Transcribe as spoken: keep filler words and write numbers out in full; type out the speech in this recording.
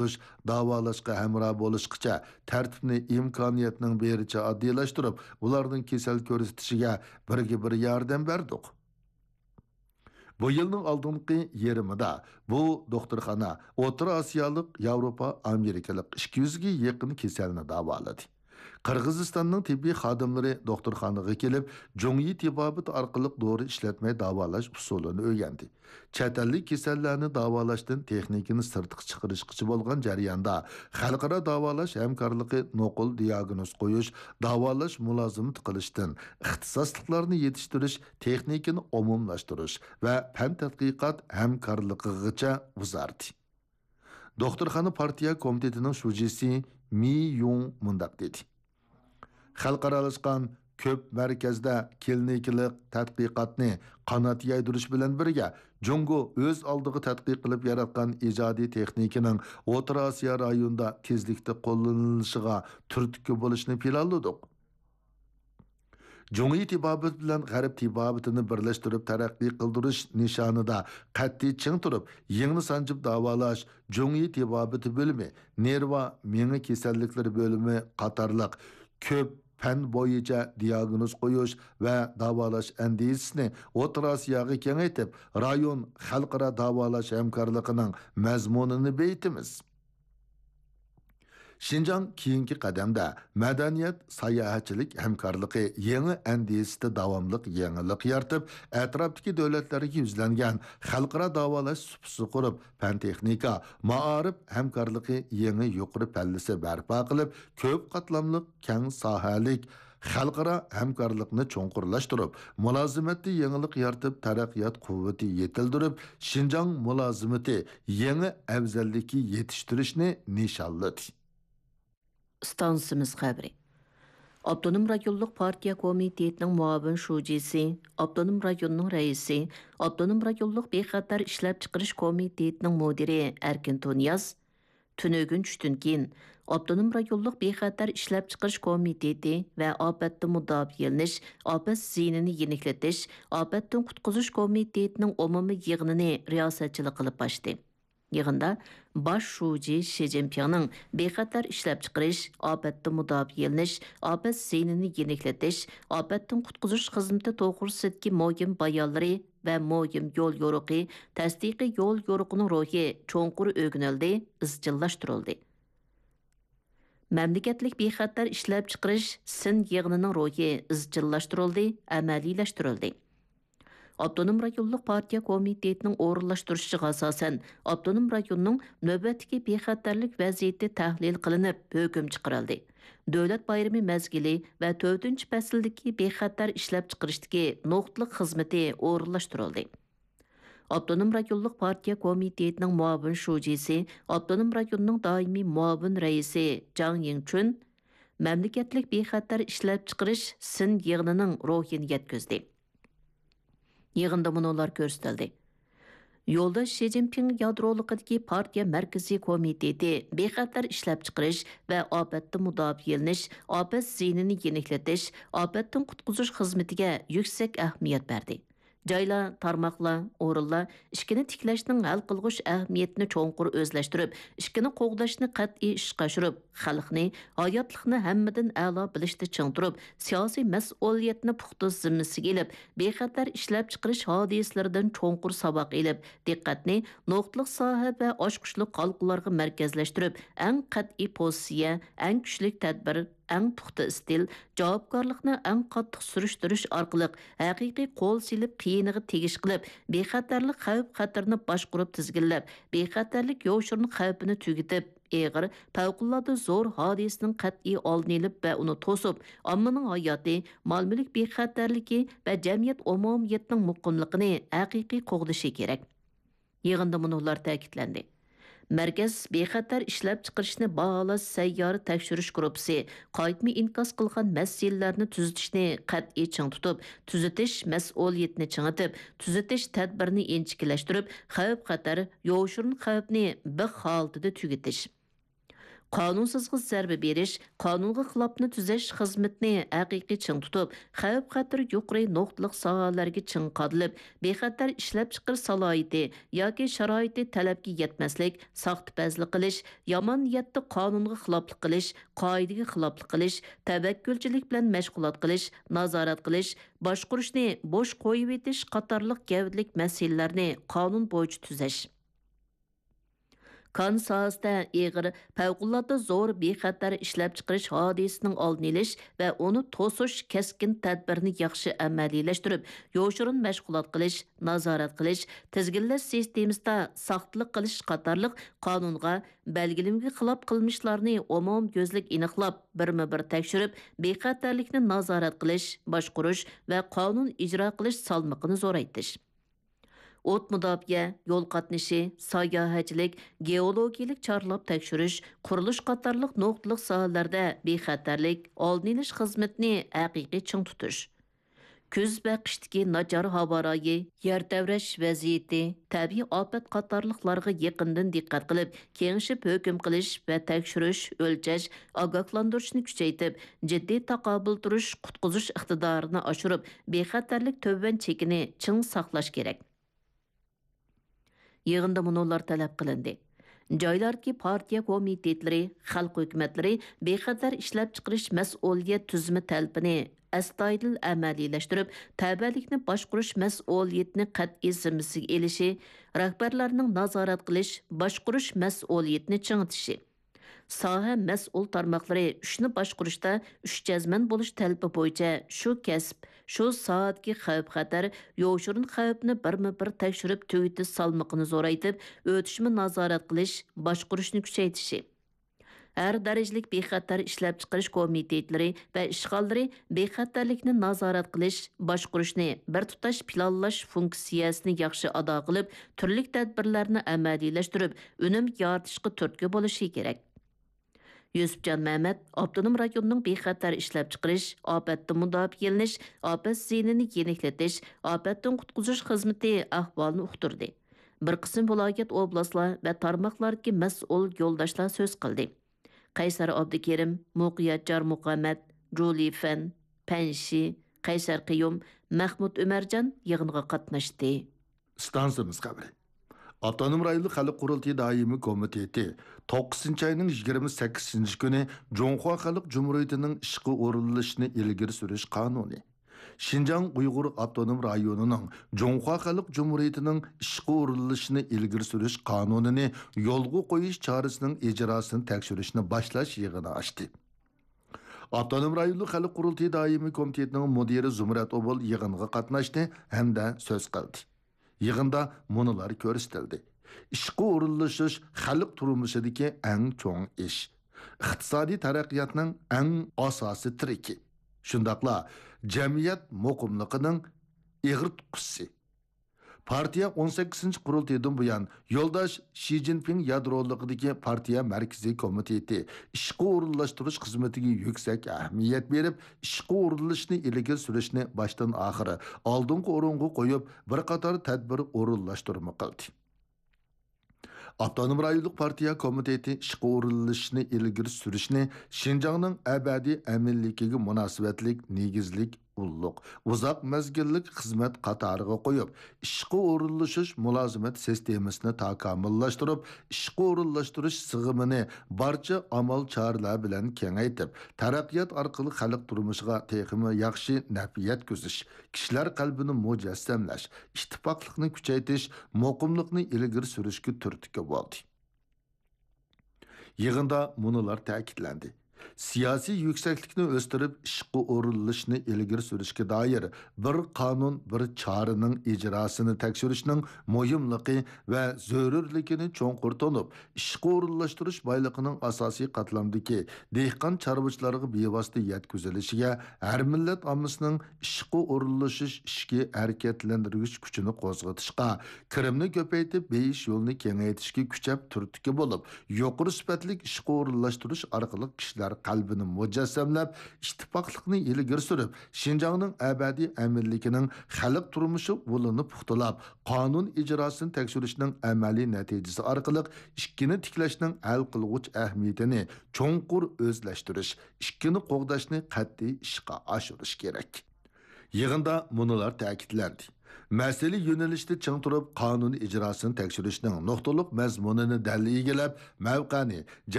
تۇتۇش، داۋالاشقا ھەمراھ بولۇشقىچە تەرتىپنى ئىمكانىيەتنىڭ بېرىچە ئاددىيلاشتۇرۇپ، ئۇلارنىڭ كېسەل كۆرسىتىشىگە بىرگە بىر ياردەم بەردۇق. بۇ يىلنىڭ ئالدىنقى يېرىمىدا بۇ دوختۇرخانا ئوتتۇرا ئاسىيالىق، ياۋروپا، ئامېرىكىلىق ئىككى يۈزگە يېقىن كېسەلنى داۋالىدى. قىرغىزىستاننىڭ تېببىي خادىملىرى دوختۇرخانىغا كېلىپ، جۇڭيى تېبابىتى ئارقىلىق دورا ئىشلەتمەي داۋالاش ئۇسۇلىنى ئۆگەندى. چەت ئەللىك كېسەللەرنى داۋالاشتىن تېخنىكىنى سىرتقا چىقىرىشقىچە بولغان جەرياندا، خەلقئارا داۋالاش ھەمكارلىقى نوقۇل دىياگنوز قويۇش، داۋالاش مۇلازىمىتى قىلىشتىن، ئىختىساسلىقلارنى يېتىشتۈرۈش، تېخنىكىنى ئومۇملاشتۇرۇش ۋە پەن تەتقىقات ھەمكارلىقىغىچە ئۇزاردى. دوختۇرخانا پارتىيە كومىتېتىنىڭ شۇجىسى مى يۇڭ مۇنداق دېدى: خەلقئارالاشقان كۆپ مەركەزدە كلىنىكىلىق تەتقىقاتنى قانات يايدۇرۇش بىلەن بىرگە، جۇڭگو ئۆز ئالدىغا تەتقىق قىلىپ ياراتقان ئىجادىي تېخنىكىنىڭ ئوتتۇرا ئاسىيا رايونىدا تېزلىكتە قوللىنىلىشىغا تۈرتكە بولۇشنى پىلانلىدۇق. جۇڭيى تېبابىتى بىلەن غەرب تېبابىتىنى بىرلەشتۈرۈپ تەرەققىي قىلدۇرۇش نىشانىدا قەتئىي چىڭ تۇرۇپ، يىڭنە سانجىپ داۋالاش، جۇڭيى تېبابىتى بۆلۈمى، نېرۋا، مېڭە كېسەللىكلىرى بۆلۈمى قاتارلىق كۆپ پەن بويىچە دىياگنوز قويۇش ۋە داۋالاش ئەندىزىسىنى ئوتتۇرا ئاسىياغا كېڭەيتىپ، رايون خەلقئارا داۋالاش ھەمكارلىقىنىڭ مەزمۇنىنى بېيىتىمىز. شىنجاڭ كېيىنكى قەدەمدە مەدەنىيەت، ساياھەتچىلىك ھەمكارلىقى يېڭى ئەندىزىسىدە داۋاملىق يېڭىلىق يارىتىپ، ئەتراپتىكى دۆلەتلەرگە يۈزلەنگەن خەلقئارا داۋالاش سۇپىسى قۇرۇپ، پەن-تېخنىكا، مائارىپ ھەمكارلىقى يېڭى يۇقىرى پەللىسى بەرپا قىلىپ، كۆپ قاتلاملىق، كەڭ ساھەلىك خەلقئارا ھەمكارلىقنى چوڭقۇرلاشتۇرۇپ، مۇلازىمەتتە يېڭىلىق يارىتىپ، تەرەققىيات قۇۋۋىتى يېتىلدۈرۈپ، شىنجاڭ مۇلازىمىتى يېڭى ئەۋزەللىككە يېتىشتۈرۈشنى نىشانلىدى. ئىستانسىمىز خەۋىرى. ئاپتونوم رايونلۇق پارتىيە كومىتېتىنىڭ مۇئاۋىن شۇجىسى، ئاپتونوم رايوننىڭ رەئىسى، ئاپتونوم رايونلۇق بىخەتەر ئىشلەپچىقىرىش كومىتېتىنىڭ مۇدىرى ئەركىن تۇنىياز تۈنۈگۈن چۈشتىن كېيىن ئاپتونوم رايونلۇق بىخەتەر ئىشلەپچىقىرىش كومىتېتى ۋە ئاپەتتىن مۇداپىئەلىنىش، ئاپەت زىيىنىنى يېنىكلىتىش، ئاپەتتىن قۇتقۇزۇش كومىتېتىنىڭ ئومۇمىي يىغىنىنى رىياسەتچىلىك قىلىپ ئاچتى. يىغىندا باش شۇجى شى جىنپىڭنىڭ بىخەتەر ئىشلەپچىقىرىش، ئاپەتتىن مۇداپىئەلىنىش، ئاپەت زىيىنىنى يېنىكلىتىش، ئاپەتتىن قۇتقۇزۇش خىزمىتى توغرىسىدىكى مۇھىم بايانلىرى ۋە مۇھىم يول يورۇقى، تەستىقىي يول يورۇقىنىڭ روھى چوڭقۇر ئۆگىنىلدى، ئىزچىللاشتۇرۇلدى. مەملىكەتلىك بىخەتەر ئىشلەپچىقىرىش سىن يىغىنىنىڭ روھى ئىزچىللاشتۇرۇلدى، ئەمەلىيلەشتۈرۈلدى. ئاپتونوم رايونلۇق پارتىيە كومىتېتىنىڭ ئورۇنلاشتۇرۇشىغا ئاساسەن، ئاپتونوم رايوننىڭ نۆۋەتتىكى بىخەتەرلىك ۋەزىيىتى تەھلىل قىلىنىپ، ھۆكۈم چىقىرىلدى. دۆلەت بايرىمى مەزگىلى ۋە تۆتىنچى پەسىلدىكى بىخەتەر ئىشلەپچىقىرىشتىكى نۇقتىلىق خىزمىتى ئورۇنلاشتۇرۇلدى. ئاپتونوم رايونلۇق پارتىيە كومىتېتىنىڭ مۇئاۋىن شۇجىسى، ئاپتونوم رايوننىڭ دائىمىي مۇئاۋىن رەئىسى جاڭ يىڭچۈن مەملىكەتلىك بىخەتەر ئىشلەپچىقىرىش سىن يىغىنىنىڭ روھىنى يەتكۈزدى. يىغىندا مۇنۇلار كۆرسىتىلدى: يولداش شى جىنپىڭ يادرولۇقىدىكى پارتىيە مەركىزىي كومىتېتى بىخەتەر ئىشلەپچىقىرىش ۋە ئاپەتتىن مۇداپىئەلىنىش، ئاپەت زىيىنىنى يېنىكلىتىش، ئاپەتتىن قۇتقۇزۇش خىزمىتىگە يۈكسەك ئەھمىيەت بەردى. جايلار، تارماقلار، ئورۇنلار ئىچكىنى تىكلەشنىڭ ھەل قىلغۇچ ئەھمىيىتىنى چوڭقۇر ئۆزلەشتۈرۈپ، ئىچكىنى قوغداشنى قەتئىي ئىشقا ئاشۇرۇپ، خەلقنى، ھاياتلىقنى ھەممىدىن ئەلا بىلىشتە چىڭ تۇرۇپ، سىياسىي مەسئۇلىيەتنى پۇختا زىممىسىگە ئېلىپ، بىخەتەر ئىشلەپچىقىرىش ھادىسىلىرىدىن چوڭقۇر ساۋاق ئېلىپ، دىققەتنى نۇقتىلىق ساھە ۋە ئاچقۇچلۇق ھالقىلارغا مەركەزلەشتۈرۈپ، ئەڭ قەتئىي پوزىتسىيە، ئەڭ كۈچلۈك تەدبىر، ئەڭ پۇختا ئىستىل، جاۋابكارلىقنى ئەڭ قاتتىق سۈرۈشتۈرۈش ئارقىلىق ھەقىقىي قول سېلىپ قىيىنىغا تېگىش قىلىپ، بىخەتەرلىك خەۋپ-خەتىرىنى باشقۇرۇپ تىزگىنلەپ، بىخەتەرلىك يوشۇرۇن خەۋپىنى تۈگىتىپ، ئېغىر، پەۋقۇلئاددە زور ھادىسىنىڭ قەتئىي ئالدىنى ئېلىپ ۋە ئۇنى توسۇپ، ئاممىنىڭ ھاياتى، مال-مۈلۈك بىخەتەرلىكى ۋە جەمئىيەت ئومۇمىيىتىنىڭ مۇقىملىقىنى ھەقىقىي قوغدىشى كېرەك. يىغىندا مۇنۇلار تەكىتلەندى: مەركەز بىخەتەر ئىشلەپچىقىرىشنى باھالاش سەييارە تەكشۈرۈش گۇرۇپپىسى قايتما ئىنكاس قىلغان مەسىلىلەرنى تۈزىتىشنى قەتئىي چىڭ تۇتۇپ، تۈزىتىش مەسئۇلىيىتىنى چىڭىتىپ، تۈزىتىش تەدبىرىنى ئىنچىكىلەشتۈرۈپ، خەۋپ-خەتەر، يوشۇرۇن خەۋپنى بىخ ھالىتىدە تۈگىتىش. قانۇنسىزغا زەربە بېرىش، قانۇنغا خىلاپنى تۈزەش خىزمىتىنى ھەقىقىي چىڭ تۇتۇپ، خەۋپ-خەتىرى يۇقىرى نۇقتىلىق ساھەلەرگە چىڭ قادىلىپ، بىخەتەر ئىشلەپچىقىرىش سالاھىيىتى ياكى شارائىتى تەلەپكە يەتمەسلىك، ساختىپەزلىك قىلىش، يامان نىيەتتە قانۇنغا خىلاپلىق قىلىش، قائىدىگە خىلاپلىق قىلىش، تەۋەككۈلچىلىك بىلەن مەشغۇلات قىلىش، نازارەت قىلىش، باشقۇرۇشنى بوش قويۇۋېتىش قاتارلىق گەۋدىلىك مەسىلىلەرنى قانۇن بويىچە تۈزەش. كان ساھەسىدە ئېغىر، پەۋقۇلئاددە زور بىخەتەر ئىشلەپچىقىرىش ھادىسىسىنىڭ ئالدىنى ئېلىش ۋە ئۇنى توسۇش كەسكىن تەدبىرىنى ياخشى ئەمەلىيلەشتۈرۈپ، يوشۇرۇن مەشغۇلات قىلىش، نازارەت قىلىش، تىزگىنلەش سىستېمىسىدا ساختىلىق قىلىش قاتارلىق قانۇنغا، بەلگىلىمىگە خىلاپ قىلمىشلارنى ئومۇميۈزلۈك ئېنىقلاپ، بىرمۇبىر تەكشۈرۈپ، بىخەتەرلىكنى نازارەت قىلىش، باشقۇرۇش ۋە قانۇن ئىجرا قىلىش سالمىقىنى زورايتىش. ئوت مۇداپىئە، يول قاتنىشى، ساياھەتچىلىك، گېئولوگىيەلىك چارلاپ تەكشۈرۈش، قۇرۇلۇش قاتارلىق نۇقتىلىق ساھەلەردە بىخەتەرلىك، ئالدىنى ئېلىش خىزمىتىنى ھەقىقىي چىڭ تۇتۇش. كۈز ۋە قىشتىكى ناچار ھاۋا رايى، يەر تەۋرەش ۋەزىيىتى، تەبىئىي ئاپەت قاتارلىقلارغا يېقىندىن دىققەت قىلىپ، كېڭىشىپ ھۆكۈم قىلىش ۋە تەكشۈرۈش، ئۆلچەش، ئاگاھلاندۇرۇشنى كۈچەيتىپ، جىددىي تاقابىل تۇرۇش، قۇتقۇزۇش ئىقتىدارىنى ئاشۇرۇپ، بىخەتەرلىك تۆۋەن چېكىنى چىڭ ساقلاش كېرەك. يىغىندا مۇنۇلار تەلەپ قىلىندى: جايلاردىكى پارتىيە كومىتېتلىرى، خەلق ھۆكۈمەتلىرى بىخەتەر ئىشلەپچىقىرىش مەسئۇلىيەت تۈزۈمى تەلىپىنى ئەستايىدىل ئەمەلىيلەشتۈرۈپ، تەۋەلىكنى باشقۇرۇش مەسئۇلىيىتىنى قەتئىي زىممىسىگە ئېلىشى، رەھبەرلەرنىڭ نازارەت قىلىش، باشقۇرۇش مەسئۇلىيىتىنى چىڭىتىشى، ساھە مەسئۇل تارماقلىرى ئىشنى باشقۇرۇشتا ئۈچ جەزمەن بولۇش تەلىپى بويىچە شۇ كەسىپ، شۇ ساھەدىكى خەۋپ-خەتەر، يوشۇرۇن خەۋپنى بىرمۇبىر تەكشۈرۈپ تۈگىتىش سالمىقىنى زورايتىپ، ئۆتۈشمە نازارەت قىلىش، باشقۇرۇشنى كۈچەيتىشى. ھەر دەرىجىلىك بىخەتەر ئىشلەپچىقىرىش كومىتېتلىرى ۋە ئىشخانىلىرى بىخەتەرلىكنى نازارەت قىلىش، باشقۇرۇشنى بىر تۇتاش پىلانلاش فۇنكسىيەسىنى ياخشى ئادا قىلىپ، تۈرلۈك تەدبىرلەرنى ئەمەلىيلەشتۈرۈپ، ئۈنۈم يارىتىشقا تۈرتكە بولۇشى كېرەك. يۈسۈپجان مەمەت ئاپتونوم رايوننىڭ بىخەتەر ئىشلەپچىقىرىش، ئاپەتتىن مۇداپىئەلىنىش، ئاپەت زىيىنىنى يېنىكلىتىش، ئاپەتتىن قۇتقۇزۇش خىزمىتى ئەھۋالىنى ئۇقتۇردى. بىر قىسىم ۋىلايەت، ئوبلاستلار ۋە تارماقلاردىكى مەسئۇل يولداشلار سۆز قىلدى. قەيسەر ئابدۇكېرىم، مۇقىيەت جارمۇھەممەت، جۇلى فەن، پەن شى، قەيسەر قىيۇم، مەخمۇت ئۆمەرجان يىغىنغا قاتناشتى. ئىستانسىمىز خەۋىرى. ئاپتونوم رايونلۇق خەلق قۇرۇلتىيى دائىمىي كومىتېتى توققۇزىنچى ئاينىڭ يىگىرمە سەككىزىنچى كۈنى جۇڭخۇا خەلق جۇمھۇرىيىتىنىڭ ئىشقا ئورۇنلىشىشنى ئىلگىرى سۈرۈش قانۇنى، شىنجاڭ ئۇيغۇر ئاپتونوم رايونىنىڭ جۇڭخۇا خەلق جۇمھۇرىيىتىنىڭ ئىشقا ئورۇنلىشىشىنى ئىلگىرى سۈرۈش قانۇنىنى يولغا قويۇش چارىسىنىڭ ئىجراسىنى تەكشۈرۈشنى باشلاش يىغىنى ئاچتى. ئاپتونوم رايونلۇق خەلق قۇرۇلتىيى دائىمىي كومىتېتىنىڭ مۇدىرى زۇمرەت ئوبۇل يىغىنغا قاتناشتى ھەمدە سۆز قىلدى. يىغىندا مۇنۇلار كۆرسىتىلدى: ئىشقا ئورۇنلىشىش خەلق تۇرمۇشىدىكى ئەڭ چوڭ ئىش، ئىقتىسادىي تەرەققىياتنىڭ ئەڭ ئاساسىي تىرىكى، شۇنداقلا جەمئىيەت مۇقىملىقىنىڭ ئېغىر تۇتقۇسى. پارتىيە ئون سەككىزىنچى قۇرۇلتىيىدىن بۇيان يولداش شى جىنپىڭ يادرولۇقىدىكى پارتىيە مەركىزىي كومىتېتى ئىشقا ئورۇنلاشتۇرۇش خىزمىتىگە يۈكسەك ئەھمىيەت بېرىپ، ئىشقا ئورۇنلىشىشنى ئىلگىرى سۈرۈشنى باشتىن ئاخىر ئالدىنقى ئورۇنغا قويۇپ، بىر قاتار تەدبىر ئورۇنلاشتۇرما قىلدى. ئاپتونوم رايونلۇق پارتىيە كومىتېتى ئىشقا ئورۇنلىشىشنى ئىلگىرى سۈرۈشنى شىنجاڭنىڭ ئەبەدىي ئەمىنلىكىگە مۇناسىۋەتلىك نېگىزلىك ئۇللۇق، ئۇزاق مەزگىللىك خىزمەت قاتارىغا قويۇپ، ئىشقا ئورۇنلىشىش مۇلازىمەت سىستېمىسىنى تاكامۇللاشتۇرۇپ، ئىشقا ئورۇنلاشتۇرۇش سىغىمىنى بارچە ئامال چارىلەر بىلەن كېڭەيتىپ، تەرەققىيات ئارقىلىق خەلق تۇرمۇشىغا تېخىمۇ ياخشى نەپ يەتكۈزۈش، كىشىلەر قەلبىنى مۇجەسسەملەش، ئىتتىپاقلىقنى كۈچەيتىش، مۇقىملىقنى ئىلگىرى سۈرۈشكە تۈرتكە بولدى. يىغىندا مۇنۇلار تەكىتلەندى: سىياسىي يۈكسەكلىكنى ئۆستۈرۈپ، ئىشقا ئورۇنلىشىشنى ئىلگىرى سۈرۈشكە دائىر بىر قانۇن، بىر چارىنىڭ ئىجراسىنى تەكشۈرۈشنىڭ مۇھىملىقى ۋە زۆرۈرلۈكىنى چوڭقۇر تونۇپ، ئىشقا ئورۇنلاشتۇرۇش بايلىقىنىڭ ئاساسىي قاتلامدىكى دېھقان، چارۋىچىلارغا بىۋاسىتە يەتكۈزۈلۈشىگە، ھەر مىللەت ئاممىسىنىڭ ئىشقا ئورۇنلىشىش ئىچكى ھەرىكەتلەندۈرگۈچ كۈچىنى قوزغىتىشقا، كىرىمنى كۆپەيتىپ بېيىش يولىنى كېڭەيتىشكە كۈچەپ تۈرتكە بولۇپ، يۇقىرى سۈپەتلىك ئىشقا ئورۇنلاشتۇرۇش ئارقىلىق كىشىلەر قەلبىنى مۇجەسسەملەپ، ئىتتىپاقلىقنى ئىلگىرى سۈرۈپ، شىنجاڭنىڭ ئەبەدىي ئەمىنلىكىنىڭ خەلق تۇرمۇشى ئۇلىنى پۇختىلاپ، قانۇن ئىجراسىنى تەكشۈرۈشنىڭ ئەمەلىي نەتىجىسى ئارقىلىق ئىككىنى تىكلەشنىڭ ھەل قىلغۇچ ئەھمىيىتىنى چوڭقۇر ئۆزلەشتۈرۈش، ئىككىنى قوغداشنى قەتئىي ئىشقا ئاشۇرۇش كېرەك. يىغىندا مۇنۇلار تەكىتلەندى. مەسىلە يۆنىلىشىدە چىڭ تۇرۇپ، قانۇن ئىجراسىنى تەكشۈرۈشنىڭ نۇقتىلىق مەزمۇنىنى دەل ئىگىلەپ، مەۋقەنى